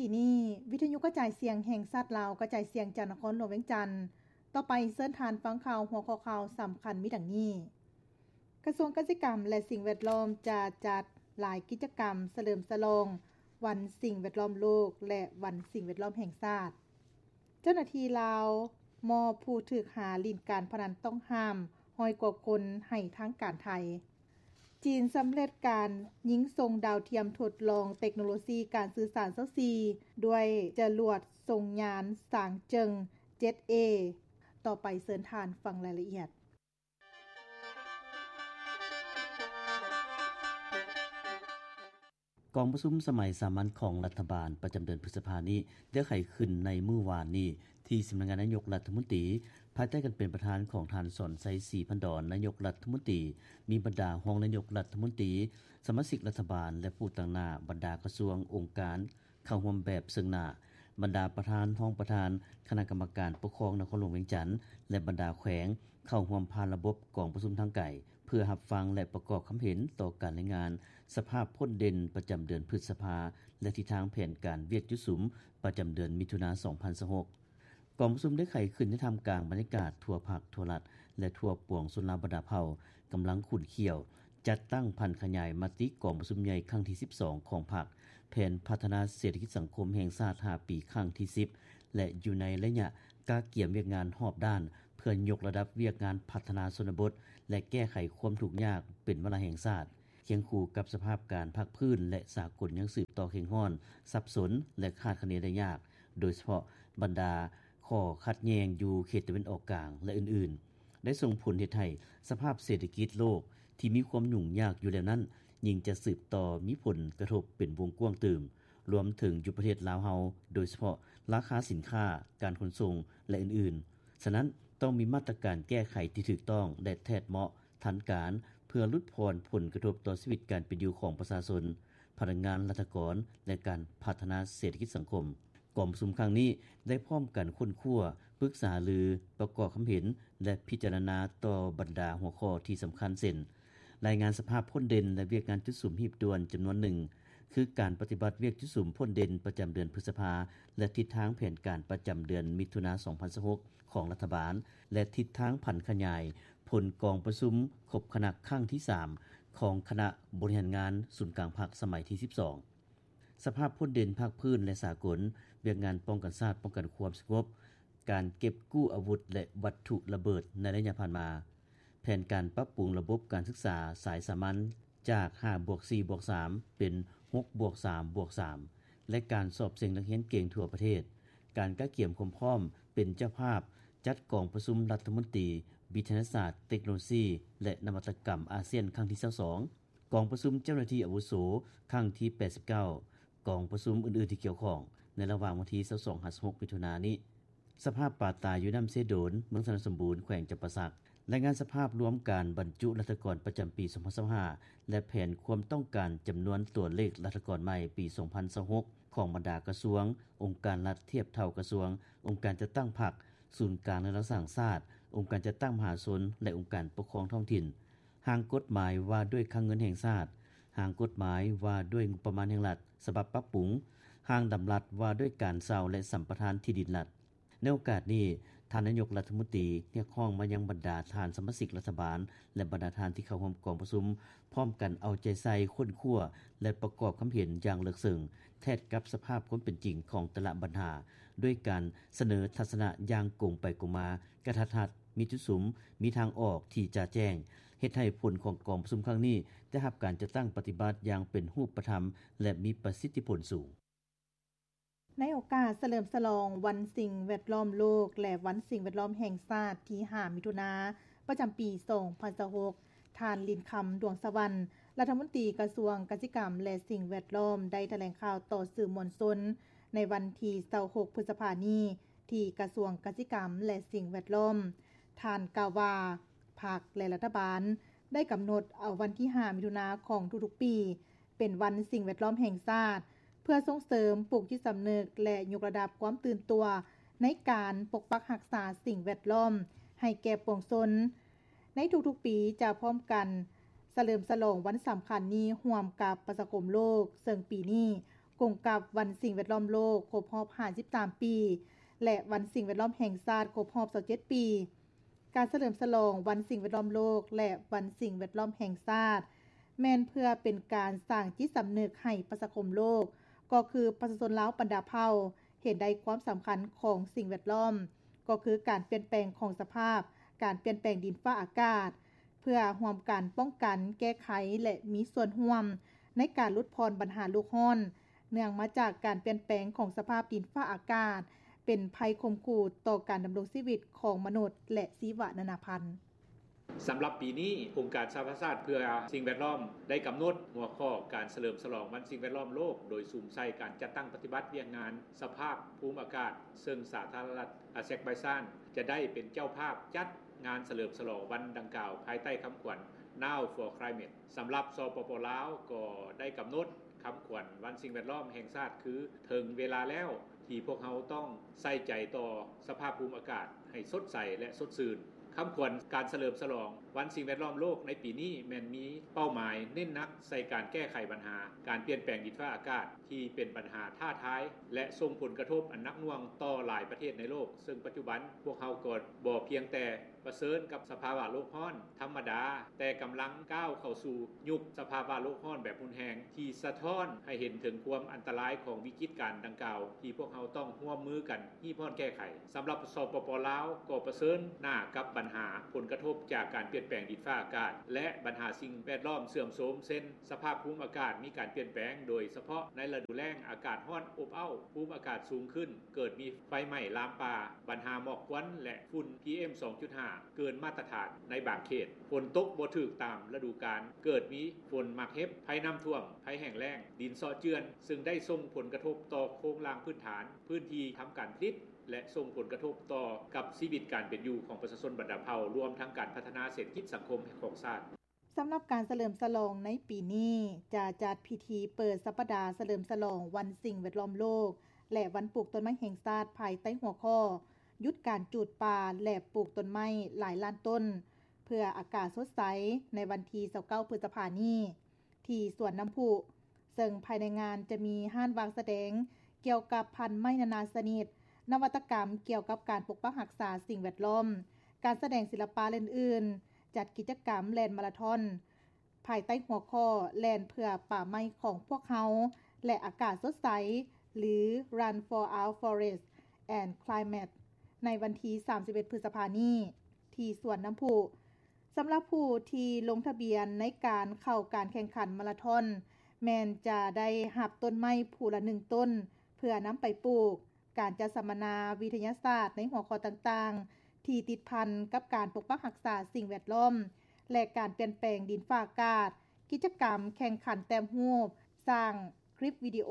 ທີ່ນີ້ ວິທະຍຸກະຈາຍສຽງແຫ່ງຊາດລາວ ກະຈາຍສຽງຈາກນະຄອນຫຼວງວຽງຈັນ. ຕໍ່ໄປເຊີນທ່ານຟັງຂ່າວ ຫົວຂໍ້ຂ່າວສຳຄັນມີດັ່ງນີ້: ກະຊວງກະສິກຳ ແລະ ສິ່ງແວດລ້ອມ ຈະຈັດຫຼາຍກິດຈະກຳສະເຫຼີມສະຫຼອງວັນສິ່ງແວດລ້ອມໂລກ ແລະ ວັນສິ່ງແວດລ້ອມແຫ່ງຊາດ. ເຈົ້າໜ້າທີ່ລາວມອບຜູ້ຖືກຫາຫຼິ້ນການພະນັນຕ້ອງຫ້າມຮ້ອຍກວ່າຄົນໃຫ້ທາງການໄທ. ຈີນສຳເລັດການຍິງສົ່ງດາວທຽມທົດລອງເຕັກໂນໂລຊີການສື່ສານຊາວສີ່ ດ້ວຍຈະຫຼວດສົ່ງຍານສາງເຈິງເຈັດເອ. ຕໍ່ໄປເຊີນທ່ານຟັງລາຍລະອຽດ. ກອງປະຊຸມສະໄໝສາມັນຂອງລັດຖະບານປະຈຳເດືອນພຶດສະພານີ້ ໄດ້ໄຂຂຶ້ນໃນມື້ວານນີ້ ທີ່ສຳນັກງານນາຍົກລັດຖະມົນຕີ ພາຍໃຕ້ການເປັນປະທານຂອງທ່ານ ສອນໄຊ ສີພັນດອນ ນາຍົກລັດຖະມົນຕີ, ມີບັນດາຮອງນາຍົກລັດຖະມົນຕີ, ສະມາຊິກລັດຖະບານ ແລະ ຜູ້ຕາງໜ້າບັນດາກະຊວງ, ອົງການ ເຂົ້າຮ່ວມແບບເຊິ່ງໜ້າ, ບັນດາປະທານ, ຮອງປະທານຄະນະກຳມະການປົກຄອງນະຄອນຫຼວງວຽງຈັນ ແລະ ບັນດາແຂວງ ເຂົ້າຮ່ວມຜ່ານລະບົບກອງປະຊຸມທາງໄກ ເພື່ອຮັບຟັງ ແລະ ປະກອບຄຳເຫັນຕໍ່ການລາຍງານສະພາບພົ້ນເດັ່ນປະຈຳເດືອນພຶດສະພາ ແລະ ທິດທາງແຜນການວຽກຈຸດສຸມປະຈຳເດືອນມິຖຸນາ ສອງພັນຊາວຫົກ. ກອງປະຊຸມໄດ້ໄຂຂຶ້ນໃນທ່າມກາງບັນຍາກາດທົ່ວພັກ, ທົ່ວລັດ ແລະ ທົ່ວປວງຊົນລາວບັນດາເຜົ່າກຳລັງຂຸ້ນຂ້ຽວ ຈັດຕັ້ງຜັນຂະຫຍາຍມະຕິກອງປະຊຸມໃຫຍ່ຄັ້ງທີສິບສອງຂອງພັກ, ແຜນພັດທະນາເສດຖະກິດສັງຄົມແຫ່ງຊາດຫ້າປີຄັ້ງທີສິບ ແລະ ຢູ່ໃນໄລຍະກະກຽມວຽກງານຮອບດ້ານ ເພື່ອຍົກລະດັບວຽກງານພັດທະນາຊົນນະບົດ ແລະ ແກ້ໄຂຄວາມທຸກຍາກເປັນວາລະແຫ່ງຊາດ, ຄຽງຄູ່ກັບສະພາບການພາກພື້ນ ແລະ ສາກົນຍັງສືບຕໍ່ເຄັ່ງຮ້ອນ, ສັບສົນ ແລະ ຄາດຄະເນໄດ້ຍາກ, ໂດຍສະເພາະບັນດາຂໍ້ຂັດແຍ່ງຢູ່ເຂດຕາເວັນອອກກາງ ແລະ ອື່ນໆ. ໄດ້ສົ່ງຜົນເຮັດໃຫ້ສະພາບເສດຖະກິດໂລກທີ່ມີຄວາມຫຍຸ້ງຍາກຢູ່ແລ້ວນັ້ນ ຍິ່ງຈະສືບຕໍ່ມີຜົນກະທົບເປັນວົງກວ້າງຕື່ມ, ລວມເຖິງຢູ່ປະເທດລາວເຮົາ, ໂດຍສະເພາະລາຄາສິນຄ້າ, ການຂົນສົ່ງ ແລະ ອື່ນໆ. ສະນັ້ນ, ຕ້ອງມີມາດຕະການແກ້ໄຂທີ່ຖືກຕ້ອງ ແລະ ແທດເໝາະ, ທັນການ ເພື່ອຫຼຸດຜ່ອນຜົນກະທົບຕໍ່ຊີວິດການເປັນຢູ່ຂອງປະຊາຊົນ, ພະນັກງານ, ລັດຖະກອນ ແລະ ການພັດທະນາເສດຖະກິດສັງຄົມ. ກອງປະຊຸມຄັ້ງນີ້ໄດ້ພ້ອມກັນຄົ້ນຄວ້າ, ປຶກສາຫາລື, ປະກອບຄຳເຫັນ ແລະ ພິຈາລະນາຕໍ່ບັນດາຫົວຂໍ້ທີ່ສຳຄັນ ເຊັ່ນ: ລາຍງານສະພາບພົ້ນເດັ່ນ ແລະ ວຽກງານຈຸດສຸມຮີບດ່ວນຈຳນວນໜຶ່ງ ຄືການປະຕິບັດວຽກຈຸດສຸມພົ້ນເດັ່ນປະຈຳເດືອນພຶດສະພາ ແລະ ທິດທາງແຜນການປະຈຳເດືອນມິຖຸນາ ສອງພັນຊາວຫົກ ຂອງລັດຖະບານ ແລະ ທິດທາງຜັນຂະຫຍາຍຜົນກອງປະຊຸມຄົບຄະນະຄັ້ງທີສາມ ຂອງຄະນະບໍລິຫານງານສູນກາງພັກສະໄໝທີສິບສອງ. ສະພາບພົ້ນເດັ່ນພາກພື້ນ ແລະ ສາກົນ, ວຽກງານປ້ອງກັນຊາດ, ປ້ອງກັນຄວາມສະຫງົບ, ການເກັບກູ້ອາວຸດ ແລະ ວັດຖຸລະເບີດໃນໄລຍະຜ່ານມາ, ແຜນການປັບປຸງລະບົບການສຶກສາສາຍສາມັນຈາກຫ້າບວກສີ່ບວກສາມ ເປັນຫົກບວກສາມບວກສາມ ແລະ ການສອບເສັງນັກຮຽນເກັ່ງທົ່ວປະເທດ, ການກະກຽມຄວາມພ້ອມເປັນເຈົ້າພາບຈັດກອງປະຊຸມລັດຖະມົນຕີວິທະຍາສາດ, ເຕັກໂນໂລຊີ ແລະ ນະວັດຕະກຳອາຊຽນຄັ້ງທີຊາວສອງ. ກອງປະຊຸມເຈົ້າໜ້າທີ່ອາວຸໂສຄັ້ງທີແປດສິບເກົ້າ, ກອງປະຊຸມອື່ນໆທີ່ກ່ຽວຂ້ອງ ໃນລະຫວ່າງວັນທີຊາວສອງຫາຊາວຫົກ ມິຖຸນານີ້. ສະພາບປາຕາຍຢູ່ນ້ຳເຊໂດນ, ເມືອງຊະນະສົມບູນ, ແຂວງຈຳປາສັກ. ລາຍງານສະພາບລວມການບັນຈຸລັດຖະກອນປະຈຳປີສອງພັນຊາວຫ້າ ແລະ ແຜນຄວາມຕ້ອງການຈຳນວນຕົວເລກລັດຖະກອນໃໝ່ປີສອງພັນຊາວຫົກ ຂອງບັນດາກະຊວງ, ອົງການລັດທຽບເທົ່າກະຊວງ, ອົງການຈັດຕັ້ງພັກ, ສູນກາງແລະລັດສ້າງຊາດ, ອົງການຈັດຕັ້ງມະຫາຊົນ ແລະ ອົງການປົກຄອງທ້ອງຖິ່ນ. ຮ່າງກົດໝາຍວ່າດ້ວຍຄັງເງິນແຫ່ງຊາດ, ຮ່າງກົດໝາຍວ່າດ້ວຍງົບປະມານແຫ່ງລັດ ສະບັບປັບປຸງ, ຮ່າງດຳລັດວ່າດ້ວຍການເຊົ່າ ແລະ ສຳປະທານທີ່ດິນລັດ. ໃນໂອກາດນີ້, ທ່ານນາຍົກລັດຖະມົນຕີຮຽກຮ້ອງມາຍັງບັນດາທ່ານສະມາຊິກລັດຖະບານ ແລະ ບັນດາທ່ານທີ່ເຂົ້າຮ່ວມກອງປະຊຸມ ພ້ອມກັນເອົາໃຈໃສ່ຄົ້ນຄວ້າ ແລະ ປະກອບຄຳເຫັນຢ່າງເລິກເຊິ່ງ ແທດກັບສະພາບຄວາມເປັນຈິງຂອງແຕ່ລະບັນຫາ ດ້ວຍການສະເໜີທັດສະນະຢ່າງກົງໄປກົງມາ, ກະທັດຮັດ, ມີຈຸດສຸມ, ມີທາງອອກທີ່ຈະແຈ້ງ, ເຮັດໃຫ້ຜົນຂອງກອງປະຊຸມຄັ້ງນີ້ໄດ້ຮັບການຈັດຕັ້ງປະຕິບັດຢ່າງເປັນຮູບປະທຳ ແລະ ມີປະສິດທິຜົນສູງ. ໃນໂອກາດສະເຫຼີມສະຫຼອງວັນສິ່ງແວດລ້ອມໂລກ ແລະ ວັນສິ່ງແວດລ້ອມແຫ່ງຊາດທີຫ້າ ມິຖຸນາ ປະຈຳປີສອງພັນຊາວຫົກ, ທ່ານ ລິນຄຳ ດວງສະຫວັນ ລັດຖະມົນຕີກະຊວງກະສິກຳ ແລະ ສິ່ງແວດລ້ອມ ໄດ້ຖະແຫຼງຂ່າວຕໍ່ສື່ມວນຊົນໃນວັນທີຊາວຫົກ ພຶດສະພານີ້ ທີ່ກະຊວງກະສິກຳ ແລະ ສິ່ງແວດລ້ອມ. ທ່ານກ່າວວ່າ ພັກ ແລະ ລັດຖະບານໄດ້ກຳນົດເອົາວັນທີຫ້າ ມິຖຸນາຂອງທຸກໆປີ ເປັນວັນສິ່ງແວດລ້ອມແຫ່ງຊາດ ເພື່ອສົ່ງເສີມ, ປູກຈິດສຳນຶກ ແລະ ຍົກລະດັບຄວາມຕື່ນຕົວໃນການປົກປັກຮັກສາສິ່ງແວດລ້ອມໃຫ້ແກ່ປວງຊົນ. ໃນທຸກໆປີຈະພ້ອມກັນສະເຫຼີມສະຫຼອງວັນສຳຄັນນີ້ຮ່ວມກັບປະຊາຄົມໂລກ, ເຊິ່ງປີນີ້ ກົງກັບວັນສິ່ງແວດລ້ອມໂລກຄົບຮອບຫ້າສິບສາມປີ ແລະ ວັນສິ່ງແວດລ້ອມແຫ່ງຊາດຄົບຮອບຊາວເຈັດປີ. ການສະເຫຼີມສະຫຼອງວັນສິ່ງແວດລ້ອມໂລກ ແລະ ວັນສິ່ງແວດລ້ອມແຫ່ງຊາດ ແມ່ນເພື່ອເປັນການສ້າງຈິດສຳນຶກໃຫ້ປະຊາຄົມໂລກ ກໍຄືປະຊາຊົນລາວບັນດາເຜົ່າ ເຫັນໄດ້ຄວາມສຳຄັນຂອງສິ່ງແວດລ້ອມ ກໍຄືການປ່ຽນແປງຂອງສະພາບ ການປ່ຽນແປງດິນຟ້າອາກາດ ເພື່ອຮ່ວມກັນປ້ອງກັນ, ແກ້ໄຂ ແລະ ມີສ່ວນຮ່ວມໃນການຫຼຸດຜ່ອນບັນຫາໂລກຮ້ອນ ເນື່ອງມາຈາກການປ່ຽນແປງຂອງສະພາບດິນຟ້າອາກາດ ເປັນໄພຂົ່ມຂູ່ຕໍ່ການດຳລົງຊີວິດຂອງມະນຸດ ແລະ ຊີວະນານາພັນ. ສຳລັບປີນີ້, ອົງການສະຫະປະຊາຊາດເພື່ອສິ່ງແວດລ້ອມ ໄດ້ກຳນົດຫົວຂໍ້ການສະເຫຼີມສະຫຼອງວັນສິ່ງແວດລ້ອມໂລກ ໂດຍສຸມໃສ່ການຈັດຕັ້ງປະຕິບັດວຽກງານສະພາບພູມອາກາດ ເຊິ່ງສາທາລະນະລັດອາເຊັກໄບຊານ ຈະໄດ້ເປັນເຈົ້າພາບຈັດງານສະເຫຼີມສະຫຼອງວັນດັ່ງກ່າວ ພາຍໃຕ້ຄຳຂວັນ Now for Climate. ສຳລັບ ສປປ ລາວ ກໍໄດ້ກຳນົດຄຳຂວັນວັນສິ່ງແວດລ້ອມແຫ່ງຊາດ ຄື ເຖິງເວລາແລ້ວທີ່ພວກເຮົາຕ້ອງໃສ່ໃຈຕໍ່ສະພາບພູມອາກາດໃຫ້ສົດໃສ ແລະ ສົດຊື່ນ. ຄຳຂວັນການສະເຫຼີມສະຫຼອງວັນສິ່ງແວດລ້ອມໂລກໃນປີນີ້ ແມ່ນມີເປົ້າໝາຍເນັ້ນໜັກໃສ່ການແກ້ໄຂບັນຫາການປ່ຽນແປງດິນຟ້າອາກາດ ທີ່ເປັນບັນຫາທ້າທາຍ ແລະ ສົ່ງຜົນກະທົບອັນໜັກໜ່ວງຕໍ່ຫຼາຍປະເທດໃນໂລກ, ເຊິ່ງປັດຈຸບັນພວກເຮົາກໍບໍ່ພຽງແຕ່ປະເຊີນກັບສະພາວະໂລກຮ້ອນທຳມະດາ, ແຕ່ກຳລັງກ້າວເຂົ້າສູ່ຍຸກສະພາວະໂລກຮ້ອນແບບຮຸນແຮງ ທີ່ສະທ້ອນໃຫ້ເຫັນເຖິງຄວາມອັນຕະລາຍຂອງວິກິດການດັ່ງກ່າວ ທີ່ພວກເຮົາຕ້ອງຮ່ວມມືກັນຮີບຮ້ອນແກ້ໄຂ. ສຳລັບ ສປປ ລາວ ກໍປະເຊີນໜ້າກັບບັນຫາຜົນກະທົບຈາກການປ່ຽນແປງດິນຟ້າອາກາດ ແລະ ບັນຫາສິ່ງແວດລ້ອມເສື່ອມໂຊມ ເຊັ່ນ ສະພາບພູມອາກາດມີການປ່ຽນແປງ, ໂດຍສະເພາະໃນລະດູແລ້ງອາກາດຮ້ອນອົບເອົ້າ, ພູມອາກາດສູງຂຶ້ນ, ເກີດມີໄຟໄໝ້ລາມປ່າ, ບັນຫາໝອກຄວັນ ແລະ ຝຸ່ນ ພີເອັມ ສອງຈຸດຫ້າ ເກີນມາດຕະຖານໃນບາງເຂດ, ຝົນຕົກບໍ່ຖືກຕາມລະດູການ, ເກີດມີຝົນໝາກເຫັບ, ໄພນ້ຳຖ້ວມ, ໄພແຫ້ງແລ້ງ, ດິນເຊາະເຈື່ອນ, ເຊິ່ງໄດ້ສົ່ງຜົນກະທົບຕໍ່ໂຄງລ່າງພື້ນຖານ, ພື້ນທີ່ທຳການຜະລິດ ແລະ ສົ່ງຜົນກະທົບຕໍ່ກັບຊີວິດການເປັນຢູ່ຂອງປະຊາຊົນບັນດາເຜົ່າ, ລວມທັງການພັດທະນາເສດຖະກິດສັງຄົມຂອງຊາດ. ສຳລັບການສະເຫຼີມສະຫຼອງໃນປີນີ້ ຈະຈັດພິທີເປີດສັບປະດາສະເຫຼີມສະຫຼອງວັນສິ່ງແວດລ້ອມໂລກ ແລະ ວັນປູກຕົ້ນໄມ້ແຫ່ງຊາດ ພາຍໃຕ້ຫົວຂໍ້ ຢຸດການຈູດປ່າ ແລະ ປູກຕົ້ນໄມ້ຫຼາຍລ້ານຕົ້ນ ເພື່ອອາກາດສົດໃສ ໃນວັນທີຊາວເກົ້າ ພຶດສະພານີ້ ທີ່ສວນນ້ຳພຸ ເຊິ່ງພາຍໃນງານຈະມີຮ້ານວາງສະແດງກ່ຽວກັບພັນໄມ້ນານາຊະນິດ, ນະວັດຕະກຳກ່ຽວກັບການປົກປັກຮັກສາສິ່ງແວດລ້ອມ, ການສະແດງສິລະປະ ແລະ ອື່ນໆ, ຈັດກິດຈະກຳແລ່ນມາລາທອນ ພາຍໃຕ້ຫົວຂໍ້ ແລ່ນເພື່ອປ່າໄມ້ຂອງພວກເຮົາ ແລະ ອາກາດສົດໃສ ຫຼື Run for Our Forest and Climate ໃນວັນທີສາມສິບເອັດ ພຶດສະພານີ້ ທີ່ສວນນ້ຳພຸ. ສຳລັບຜູ້ທີ່ລົງທະບຽນໃນການເຂົ້າການແຂ່ງຂັນມາລາທອນ ແມ່ນຈະໄດ້ຮັບຕົ້ນໄມ້ຜູ້ລະໜຶ່ງຕົ້ນ ເພື່ອນຳໄປປູກ, ການຈັດສຳມະນາວິທະຍາສາດໃນຫົວຂໍ້ຕ່າງໆ ທີ່ຕິດພັນກັບການປົກປັກຮັກສາສິ່ງແວດລ້ອມ ແລະ ການປ່ຽນແປງດິນຟ້າອາກາດ, ກິດຈະກຳແຂ່ງຂັນແຕ້ມຮູບ, ສ້າງຄລິບວິດີໂອ,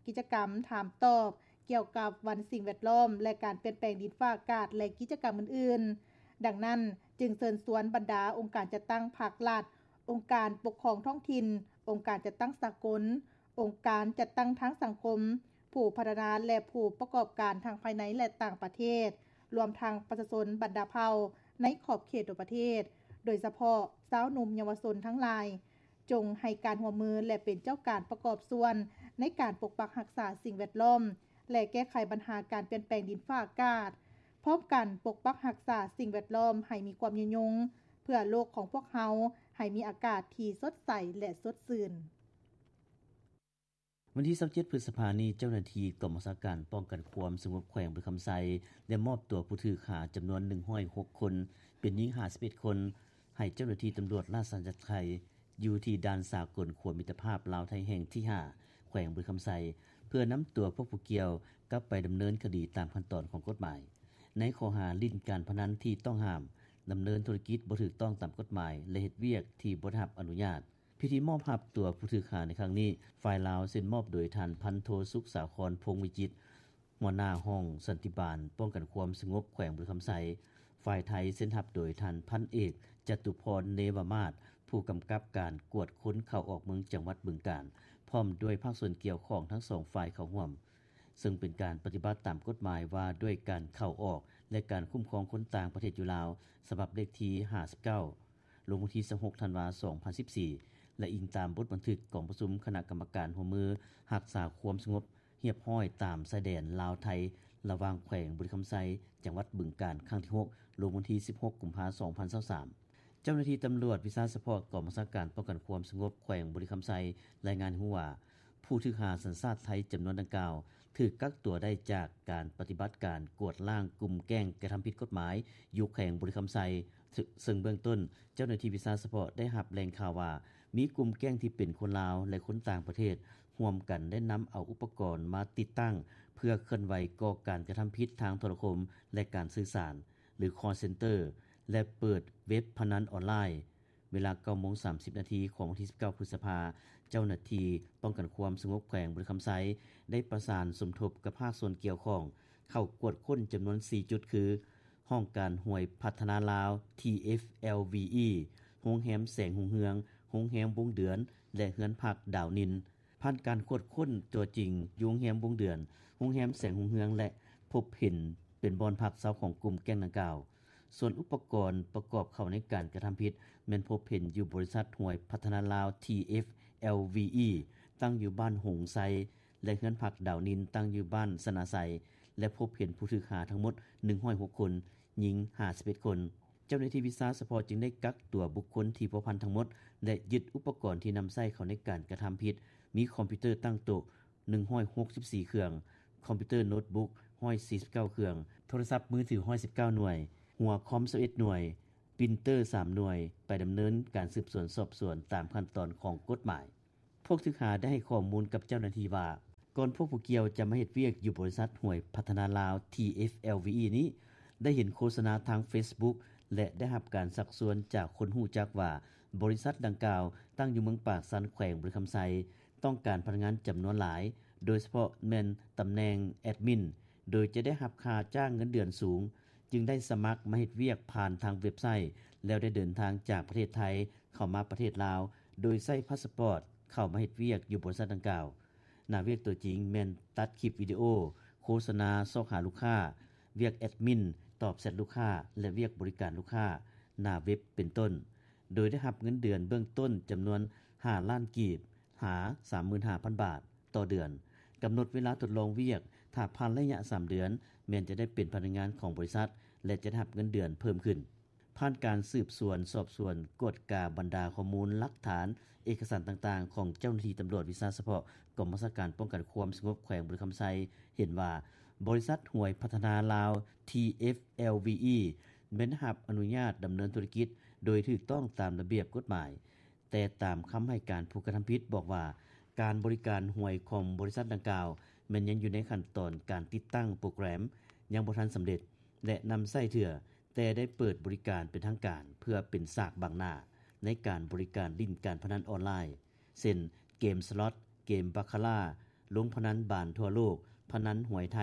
ກິດຈະກຳຖາມຕອບກ່ຽວກັບວັນສິ່ງແວດລ້ອມ ແລະ ການປ່ຽນແປງດິນຟ້າອາກາດ ແລະ ກິດຈະກຳອື່ນໆ. ດັ່ງນັ້ນ, ຈຶ່ງເຊີນຊວນບັນດາອົງການຈັດຕັ້ງພາກລັດ, ອົງການປົກຄອງທ້ອງຖິ່ນ, ອົງການຈັດຕັ້ງສາກົນ, ອົງການຈັດຕັ້ງທາງສັງຄົມ, ຜູ້ພັດທະນາ ແລະ ຜູ້ປະກອບການທັງພາຍໃນ ແລະ ຕ່າງປະເທດ, ລວມທັງປະຊາຊົນບັນດາເຜົ່າໃນຂອບເຂດທົ່ວປະເທດ, ໂດຍສະເພາະຊາວໜຸ່ມເຍົາວະຊົນທັງຫຼາຍ, ຈົ່ງໃຫ້ການຮ່ວມມື ແລະ ເປັນເຈົ້າການປະກອບສ່ວນໃນການປົກປັກຮັກສາສິ່ງແວດລ້ອມ ແລະ ແກ້ໄຂບັນຫາການປ່ຽນແປງດິນຟ້າອາກາດ, ພ້ອມກັນປົກປັກຮັກສາສິ່ງແວດລ້ອມໃຫ້ມີຄວາມຍືນຍົງ ເພື່ອໂລກຂອງພວກເຮົາໃຫ້ມີອາກາດທີ່ສົດໃສ ແລະ ສົດຊື່ນ. ວັນທີຊາວເຈັດ ພຶດສະພານີ້, ເຈົ້າໜ້າທີ່ກອງບັນຊາການປ້ອງກັນຄວາມສະຫງົບແຂວງບໍລິຄຳໄຊ ໄດ້ມອບຕົວຜູ້ຖືກຫາຈຳນວນໜຶ່ງຮ້ອຍຫົກຄົນ, ເປັນຍິງຫ້າສິບເອັດຄົນ, ໃຫ້ເຈົ້າໜ້າທີ່ຕຳຫຼວດລາຊະອານາຈັກໄທ ຢູ່ທີ່ດ່ານສາກົນຂົວມິດຕະພາບລາວໄທແຫ່ງທີຫ້າ ແຂວງບໍລິຄຳໄຊ ເພື່ອນຳຕົວພວກຜູ້ກ່ຽວກັບໄປດຳເນີນຄະດີຕາມຂັ້ນຕອນຂອງກົດໝາຍ ໃນຂໍ້ຫາຫຼິ້ນການພະນັນທີ່ຕ້ອງຫ້າມ, ດຳເນີນທຸລະກິດບໍ່ຖືກຕ້ອງຕາມກົດໝາຍ ແລະ ເຮັດວຽກທີ່ບໍ່ໄດ້ຮັບອະນຸຍາດ. ພິທີມອບຮັບຕົວຜູ້ຖືກຫາໃນຄັ້ງນີ້, ຝ່າຍລາວເຊັນມອບໂດຍທ່ານພັນໂທ ສຸກສາຄອນ ພົງວິຈິດ, ຫົວໜ້າຫ້ອງສັນຕິບານປ້ອງກັນຄວາມສະຫງົບແຂວງບໍລິຄຳໄຊ, ຝ່າຍໄທເຊັນຮັບໂດຍທ່ານພັນເອກ ຈະຕຸພອນ ເນວະມາດ, ຜູ້ກຳກັບການກວດຄົນເຂົ້າອອກເມືອງຈັງຫວັດບຶງການ, ພ້ອມດ້ວຍພາກສ່ວນກ່ຽວຂ້ອງທັງສອງຝ່າຍເຂົ້າຮ່ວມ, ເຊິ່ງເປັນການປະຕິບັດຕາມກົດໝາຍວ່າດ້ວຍການເຂົ້າອອກ ແລະ ການຄຸ້ມຄອງຄົນຕ່າງປະເທດຢູ່ລາວ, ສະບັບເລກທີຫ້າສິບເກົ້າ ລົງວັນທີຊາວຫົກ ທັນວາ ສອງພັນສິບສີ່, ແລະ ອີງຕາມບົດບັນທຶກກອງປະຊຸມຄະນະກຳມະການຮ່ວມມືຮັກສາຄວາມສະຫງົບຮຽບຮ້ອຍຕາມຊາຍແດນລາວ-ໄທ ລະຫວ່າງແຂວງບໍລິຄຳໄຊ ຈັງຫວັດບຶງການ ຄັ້ງທີຫົກ ລົງວັນທີສິບຫົກ ກຸມພາ ສອງພັນຊາວສາມ. ເຈົ້າໜ້າທີ່ຕຳຫຼວດວິຊາສະເພາະກອງບັນຊາການປ້ອງກັນຄວາມສະຫງົບແຂວງບໍລິຄຳໄຊ ລາຍງານໃຫ້ຮູ້ວ່າ ຜູ້ຖືກຫາສັນຊາດໄທຈຳນວນດັ່ງກ່າວ ຖືກກັກຕົວໄດ້ຈາກການປະຕິບັດການກວດລ້າງກຸ່ມແກ້ງກະທຳຜິດກົດໝາຍຢູ່ແຂວງບໍລິຄຳໄຊ, ເຊິ່ງເບື້ອງຕົ້ນເຈົ້າໜ້າທີ່ວິຊາສະເພາະໄດ້ຮັບແຫຼ່ງຂ່າວວ່າ ມີກຸ່ມແກ້ງທີ່ເປັນຄົນລາວ ແລະ ຄົນຕ່າງປະເທດ ຮ່ວມກັນໄດ້ນຳເອົາອຸປະກອນມາຕິດຕັ້ງ ເພື່ອເຄື່ອນໄຫວກໍ່ການກະທຳຜິດທາງໂທລະຄົມ ແລະ ການສື່ສານ ຫຼື call center ແລະ ເປີດເວັບພະນັນອອນລາຍ. ເວລາ ເກົ້າໂມງສາມສິບນາທີ ຂອງວັນທີສິບເກົ້າ ພຶດສະພາ, ເຈົ້າໜ້າທີ່ປ້ອງກັນຄວາມສະຫງົບແຂວງບໍລິຄຳໄຊ ໄດ້ປະສານສົມທົບກັບພາກສ່ວນກ່ຽວຂ້ອງ ເຂົ້າກວດຄົ້ນຈຳນວນສີ່ຈຸດ ຄື ຫ້ອງການຫວຍພັດທະນາລາວ TFLVE, ໂຮງແຮມແສງຮຸ່ງເຮືອງ, ໂຮງແຮມວົງເດືອນ ແລະ ເຮືອນພັກດາວນິນ. ຜ່ານການກວດຄົ້ນຕົວຈິງຢູ່ໂຮງແຮມວົງເດືອນ, ໂຮງແຮມແສງຮຸ່ງເຮືອງ ແລະ ພົບເຫັນເປັນບ່ອນພັກເຊົາຂອງກຸ່ມແກ້ງດັ່ງກ່າວ. ສ່ວນອຸປະກອນປະກອບເຂົ້າໃນການກະທຳຜິດ ແມ່ນພົບເຫັນຢູ່ບໍລິສັດຫວຍພັດທະນາລາວ TFLVE ຕັ້ງຢູ່ບ້ານຫົງໄຊ ແລະ ເຮືອນພັກດາວນິນຕັ້ງຢູ່ບ້ານຊະນະໄຊ ແລະ ພົບເຫັນຜູ້ຖືກຫາທັງໝົດໜຶ່ງຮ້ອຍຫົກຄົນ, ຍິງຫ້າສິບເອັດຄົນ. ເຈົ້າໜ້າທີ່ວິຊາສະເພາະຈຶ່ງໄດ້ກັກຕົວບຸກຄົນທີ່ພົວພັນທັງໝົດ ແລະ ຍຶດອຸປະກອນທີ່ນຳໃຊ້ເຂົ້າໃນການກະທຳຜິດ ມີຄອມພິວເຕີຕັ້ງໂຕະໜຶ່ງຮ້ອຍຫົກສິບສີ່ເຄື່ອງ, ຄອມພິວເຕີໂນດບຸກຮ້ອຍສີ່ສິບເກົ້າເຄື່ອງ, ໂທລະສັບມືຖືຮ້ອຍສິບເກົ້າໜ່ວຍ, ຫົວຄອມຊາວເອັດໜ່ວຍ, ປຣິນເຕີສາມໜ່ວຍ ໄປດຳເນີນການສືບສວນສອບສວນຕາມຂັ້ນຕອນຂອງກົດໝາຍ. ພວກຖືກຫາໄດ້ໃຫ້ຂໍ້ມູນກັບເຈົ້າໜ້າທີ່ວ່າ ກ່ອນພວກຜູ້ກ່ຽວຈະມາເຮັດວຽກຢູ່ບໍລິສັດຫວຍພັດທະນາລາວ TFLVE ນີ້ ໄດ້ເຫັນໂຄສະນາທາງເຟສບຸກ ແລະ ໄດ້ຮັບການຊັກຊວນຈາກຄົນຮູ້ຈັກວ່າ ບໍລິສັດດັ່ງກ່າວຕັ້ງຢູ່ເມືອງປາກຊັນ ແຂວງບໍລິຄຳໄຊ ຕ້ອງການພະນັກງານຈຳນວນຫຼາຍ, ໂດຍສະເພາະແມ່ນຕຳແໜ່ງແອດມິນ, ໂດຍຈະໄດ້ຮັບຄ່າຈ້າງເງິນເດືອນສູງ, ຈຶ່ງໄດ້ສະໝັກມາເຮັດວຽກຜ່ານທາງເວັບໄຊ ແລ້ວໄດ້ເດີນທາງຈາກປະເທດໄທເຂົ້າມາປະເທດລາວ ໂດຍໃຊ້ພາສປອດເຂົ້າມາເຮັດວຽກຢູ່ບໍລິສັດດັ່ງກ່າວ. ໜ້າວຽກຕົວຈິງແມ່ນຕັດຄລິບວິດີໂອ, ໂຄສະນາຊອກຫາລູກຄ້າ, ວຽກແອດມິນ, ຕອບແຊັດລູກຄ້າ ແລະ ວຽກບໍລິການລູກຄ້າ ໜ້າເວັບເປັນຕົ້ນ, ໂດຍໄດ້ຮັບເງິນເດືອນເບື້ອງຕົ້ນຈຳນວນຫ້າລ້ານກີບ ຫາສາມໝື່ນຫ້າພັນບາດຕໍ່ເດືອນ. ກຳນົດເວລາທົດລອງວຽກ, ຖ້າຜ່ານໄລຍະສາມເດືອນ ແມ່ນຈະໄດ້ເປັນພະນັກງານຂອງບໍລິສັດ ແລະ ຈະໄດ້ຮັບເງິນເດືອນເພີ່ມຂຶ້ນ. ຜ່ານການສືບສວນສອບສວນ, ກວດກາບັນດາຂໍ້ມູນ, ຫຼັກຖານ, ເອກະສານຕ່າງໆ ຂອງເຈົ້າໜ້າທີ່ຕຳຫຼວດວິຊາສະເພາະ ກອງບັນຊາການປ້ອງກັນຄວາມສະຫງົບແຂວງບໍລິຄຳໄຊ ເຫັນວ່າ ບໍລິສັດຫວຍພັດທະນາລາວ TFLVE ແມ່ນໄດ້ຮັບອະນຸຍາດດຳເນີນທຸລະກິດໂດຍຖືກຕ້ອງຕາມລະບຽບກົດໝາຍ. ແຕ່ຕາມຄຳໃຫ້ການຜູ້ກະທຳຜິດບອກວ່າ ການບໍລິການຫວຍຂອງບໍລິສັດດັ່ງກ່າວ ແມ່ນຍັງຢູ່ໃນຂັ້ນຕອນການຕິດຕັ້ງໂປຣແກຣມ ຍັງບໍ່ທັນສຳເລັດ ແລະ ນຳໃຊ້ເທື່ອ, ແຕ່ໄດ້ເປີດບໍລິການເປັນທາງການ ເພື່ອເປັນສາກບັງໜ້າໃນການບໍລິການຫຼິ້ນການພະນັນອອນລາຍ ເຊັ່ນ ເກມສລັອດ, ເກມບາຄາລາ, ລົງພະນັນບານທົ່ວໂລກ, ພະນັນຫວຍໄທ,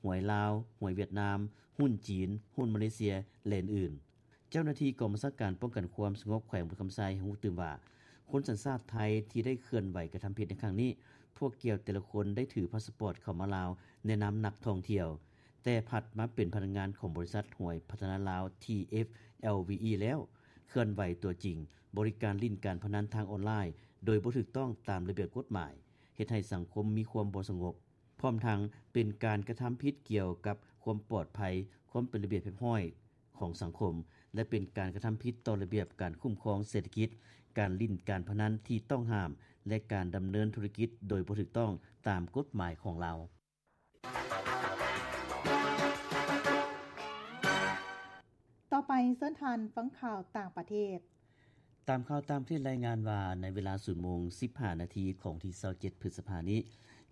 ຫວຍລາວ, ຫວຍຫວຽດນາມ, ຫຸ້ນຈີນ, ຫຸ້ນມາເລເຊຍ ແລະ ອື່ນໆ. ເຈົ້າໜ້າທີ່ກອງບັນຊາການປ້ອງກັນຄວາມສະຫງົບແຂວງບໍລິຄຳໄຊ ໃຫ້ຮູ້ຕື່ມວ່າ ຄົນສັນຊາດໄທທີ່ໄດ້ເຄື່ອນໄຫວກະທຳຜິດໃນຄັ້ງນີ້ ພວກກ່ຽວແຕ່ລະຄົນໄດ້ຖືພາສະປອດເຂົ້າມາລາວໃນນາມນັກທ່ອງທ່ຽວ, ແຕ່ພັດມາເປັນພະນັກງານຂອງບໍລິສັດຫວຍພັດທະນາລາວ TFLVE ແລ້ວ ເຄື່ອນໄຫວຕົວຈິງ, ບໍລິການຫຼິ້ນການພະນັນທາງອອນລາຍໂດຍບໍ່ຖືກຕ້ອງຕາມລະບຽບກົດໝາຍ, ເຮັດໃຫ້ສັງຄົມມີຄວາມບໍ່ສະຫງົບ. ພ້ອມທັງເປັນການກະທຳຜິດກ່ຽວກັບຄວາມປອດໄພ, ຄວາມເປັນລະບຽບຮຽບຮ້ອຍຂອງສັງຄົມ ແລະ ເປັນການກະທຳຜິດຕໍ່ລະບຽບການຄຸ້ມຄອງເສດຖະກິດ, ການຫຼິ້ນການພະນັນທີ່ຕ້ອງຫ້າມ ແລະ ການດຳເນີນທຸລະກິດໂດຍບໍ່ຖືກຕ້ອງຕາມກົດໝາຍຂອງລາວ. ຕໍ່ໄປເຊີນທ່ານຟັງຂ່າວຕ່າງປະເທດ. ຕາມຂ່າວຕ່າງປະເທດລາຍງານວ່າ ໃນເວລາ ສູນໂມງສິບຫ້ານາທີ ຂອງວັນທີຊາວເຈັດ ພຶດສະພານີ້,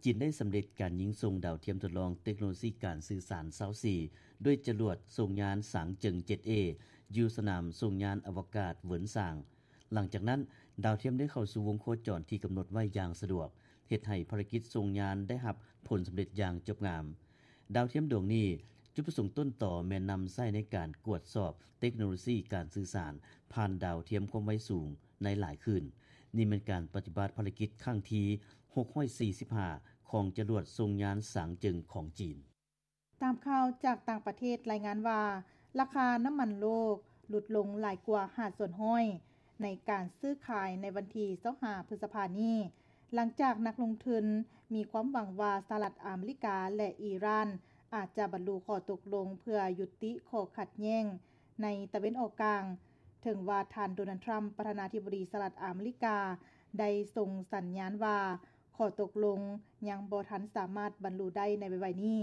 ຈີນໄດ້ສຳເລັດການຍິງສົ່ງດາວທຽມທົດລອງເຕັກໂນໂລຊີການສື່ສານຊາວສີ່ ດ້ວຍຈະຫຼວດສົ່ງຍານສາງເຈິງ ເຈັດເອ ຢູ່ສະໜາມສົ່ງຍານອະວະກາດເຫວິນຊາງ. ຫຼັງຈາກນັ້ນ, ດາວທຽມໄດ້ເຂົ້າສູ່ວົງໂຄຈອນທີ່ກຳນົດໄວ້ຢ່າງສະດວກ, ເຮັດໃຫ້ພາລະກິດສົ່ງຍານໄດ້ຮັບຜົນສຳເລັດຢ່າງຈົບງາມ. ດາວທຽມດວງນີ້ ຈຸດປະສົງຕົ້ນຕໍແມ່ນນຳໃຊ້ໃນການກວດສອບເຕັກໂນໂລຊີການສື່ສານຜ່ານດາວທຽມຄວາມໄວສູງໃນຫຼາຍຄື້ນ. ນີ້ແມ່ນການປະຕິບັດພາລະກິດຄັ້ງທີຫົກຮ້ອຍສີ່ສິບຫ້າ ຂອງຈະຫຼວດສົ່ງຍານສາງເຈິງຂອງຈີນ. ຕາມຂ່າວຈາກຕ່າງປະເທດລາຍງານວ່າ ລາຄານ້ຳມັນໂລກຫຼຸດລົງຫຼາຍກວ່າຫ້າສ່ວນຮ້ອຍ ໃນການຊື້ຂາຍໃນວັນທີຊາວຫ້າ ພຶດສະພານີ້ ຫຼັງຈາກນັກລົງທຶນມີຄວາມຫວັງວ່າສະຫະລັດອາເມລິກາ ແລະ ອີຣານ ອາດຈະບັນລຸຂໍ້ຕົກລົງເພື່ອຍຸຕິຂໍ້ຂັດແຍ້ງໃນຕາເວັນອອກກາງ, ເຖິງວ່າທ່ານ ໂດນັລ ທຣຳ ປະທານາທິບໍດີສະຫະລັດອາເມລິກາ ໄດ້ສົ່ງສັນຍານວ່າຂໍ້ຕົກລົງຍັງບໍ່ທັນສາມາດບັນລຸໄດ້ໃນໄວໆນີ້.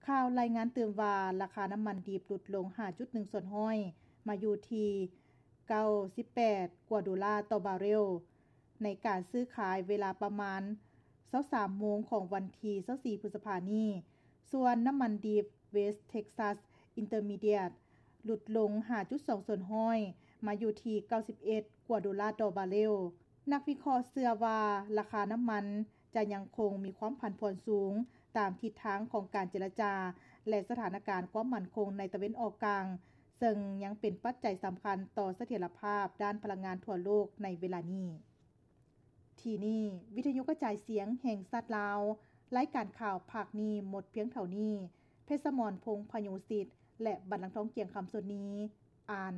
ຂ່າວລາຍງານຕື່ມວ່າ ລາຄານ້ຳມັນດິບຫຼຸດລົງ ຫ້າຈຸດໜຶ່ງສ່ວນຮ້ອຍ ມາຢູ່ທີ່ ເກົ້າສິບແປດກວ່າໂດລາຕໍ່ບາເຣວ ໃນການຊື້ຂາຍເວລາປະມານຊາວສາມໂມງຂອງວັນທີຊາວສີ່ ພຶດສະພານີ້. ສ່ວນນ້ຳມັນດິບ West Texas Intermediate ຫຼຸດລົງ ຫ້າຈຸດສອງສ່ວນຮ້ອຍ ມາຢູ່ທີ່ ເກົ້າສິບເອັດກວ່າໂດລາຕໍ່ບາເຣວ. ນັກວິເຄາະເຊື່ອວ່າ ລາຄານ້ຳມັນຈະຍັງຄົງມີຄວາມຜັນຜວນສູງ ຕາມທິດທາງຂອງການເຈລະຈາ ແລະ ສະຖານະການຄວາມໝັ້ນຄົງໃນຕາເວັນອອກກາງ, ເຊິ່ງຍັງເປັນປັດໄຈສຳຄັນຕໍ່ສະຖຽນລະພາບດ້ານພະລັງງານທົ່ວໂລກໃນເວລານີ້. ທີ່ນີ້ ວິທະຍຸກະຈາຍສຽງແຫ່ງຊາດລາວ, ລາຍການຂ່າວພາກນີ້ໝົດພຽງເທົ່ານີ້. ເພັດສະໝອນ ພົງພະໂຍສິດ ແລະ ບັນລັງທອງ ກຽງຄຳ ສຸດນີ ອ່ານ.